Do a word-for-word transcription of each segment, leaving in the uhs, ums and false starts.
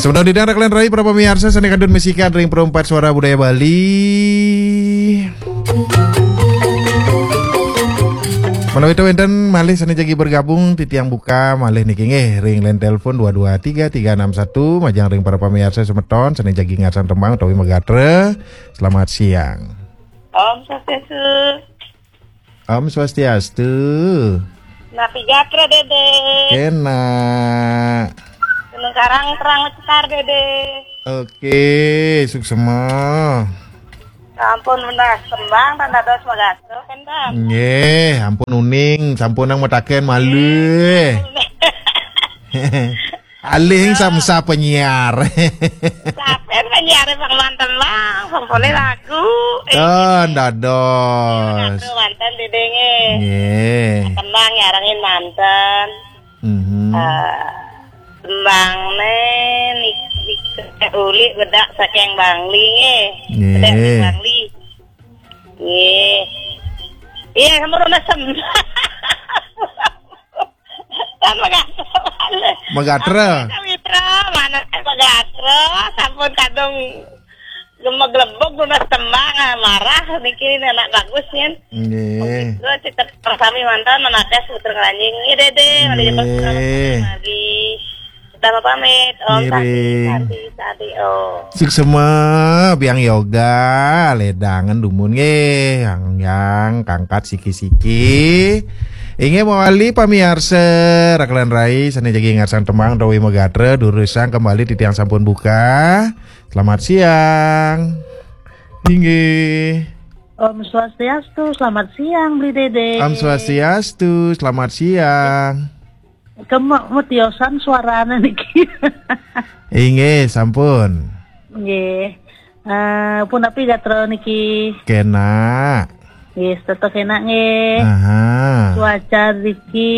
Semeton titiang raka lan rai para pamiarsa sané kantun masikian ring Perumpat Suara Budaya Bali. Menawi wénten malih sané jagi bergabung, titiang buka malih niki nggih ring line telepon dua dua tiga tiga enam satu, majeng ring para pamiarsa semeton sané jagi ngarsan tembang utawi magatra. Selamat siang. Om Swastiastu. Om Swastiastu. Napi gatra, Dede? Kénak. Gunung Karang terang cetar, Dede. Oké, suksma. Sampun nunas tembang, tan dados magatra, kénten. Nggih, ampun uning, sampunang mataken malih. Alih samsa penyiar. Sampun penyiar pang manten, Bang. Pang polih lagu. Eh, oh, dados. Lagu manten, Dede, nggih. Nggih. Tembang nyarengin manten. Mhm. Eh, tembangné nik-, nik-, uli bedak saking Bangli, nggih. Nggih. Bedak saking Bangli. Nggih. Iya, sampun nunas tembang. Kan magatra. Magatra. Ampun, Sawitra, mana saya magatra, sampun kadung gemeglebug nunas tembang, ah, marah niki anak bagus nyen. Nggih. Terus tetep sami manten menates putra keranjing. Nggih, Dede, mari cepet. Nggih. Lagi. Utama pamit, Om Santi, ngiring. Santi, Santi, Om. Suksma, biang yoga, ledangan dumun nggih, yang, yang kangkat siki-siki. Inggih mawali pamiarsa, raka lan rai, sané jagi ngarsan tembang utawi magatra, durusang kembali titiang sampun buka. Selamat siang. Inggih. Om Swastiastu, selamat siang, Bli Dede. Om Swastiastu, selamat siang. Kema-, metiosan suarane niki. Inggih, sampun. Nggih. Eh, punapi gatra niki? Kenak. Nggih, tetep kenak nggih. Aha. Cuaca niki,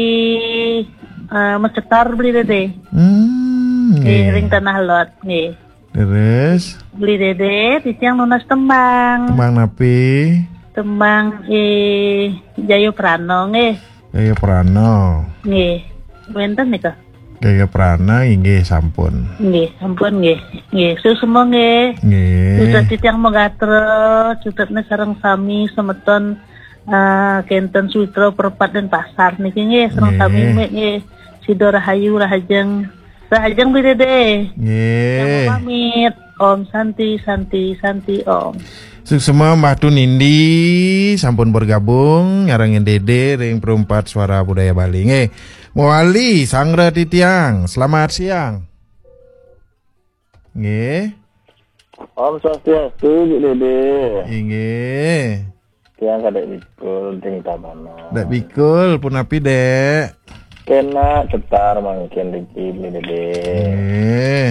eh, macetar, Bli Dede. Hmm, nggih, nggih. Ring Tanah Lot nggih. Leres. Bli Dede, titiang nunas tembang. Tembang napi? Tembang, eh, Jaya Prana nggih. Jaya Prana. Nggih. Wénten nika? Jaya Prana, inggih sampun. Nggih, sampun nggih. Nggih, suksma nggih. Nggih. Suksma titiang magatra, cutetna sareng sami semeton, eh, kénten Sawitra Perumpat Denpasar niki nggih, sareng sami nggih. Mik nggih. Sida rahayu, rahajeng. Rahajeng, Bli Dede. Nggih. Yang pamit. Om Santi, Santi, Santi, Om. Suksma Mbah Tunindi sampun bergabung nyarengin Dede ring Perumpat Suara Budaya Bali. Nggih. Mawali Sanggra Titiang. Selamat siang. Nggih. Om Swastiastu, Bli Dede. Inggih. Tiang kadek bikul, ting tabana. Dek bikul, punapi, Dek? Kena cetar mangkin riki, Bli Dede. Nggih.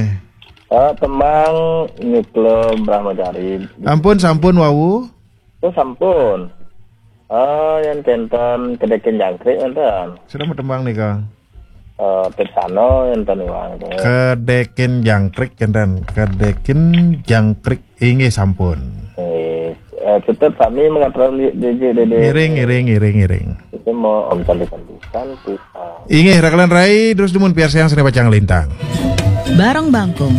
Eh, tembang Nyukla Brahmacari. Ampun, sampun wau. Oh, sampun. Ah, yang kenten kedekin jangkrik enten. Sudah mau tembang nih, Kang. Eh, Pirsano enten iwang. Kedekin jangkrik enten. Kedekin jangkrik. Inggih sampun. Eh, eh, tetep sami mengaturkan di, di, di, di, di. Ngiring, ngiring, ngiring, ngiring. Itu mau Om Santi, Santi, Santi, ah. Inggih, raka lan rai, terus dumun piarsayang sané pacang lintang. Barong Bangkung.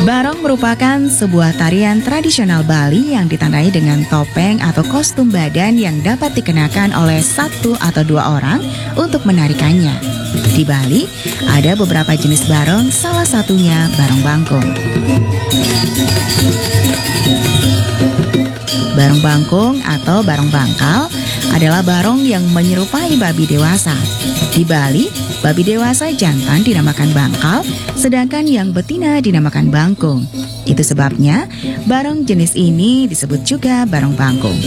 Barong merupakan sebuah tarian tradisional Bali yang ditandai dengan topeng atau kostum badan yang dapat dikenakan oleh satu atau dua orang untuk menarikannya. Di Bali, ada beberapa jenis barong, salah satunya barong bangkung. Barong bangkung atau barong bangkal adalah barong yang menyerupai babi dewasa. Di Bali, babi dewasa jantan dinamakan bangkal, sedangkan yang betina dinamakan bangkung. Itu sebabnya, barong jenis ini disebut juga barong bangkung.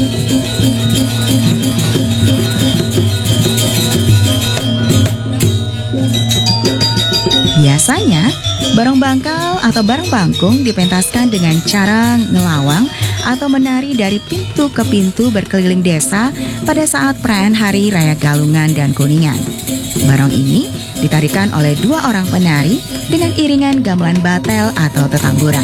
Biasanya, barong bangkal atau barong bangkung dipentaskan dengan cara ngelawang atau menari dari pintu ke pintu berkeliling desa pada saat perayaan Hari Raya Galungan dan Kuningan. Barong ini ditarikan oleh dua orang penari dengan iringan gamelan batel atau tetamburan.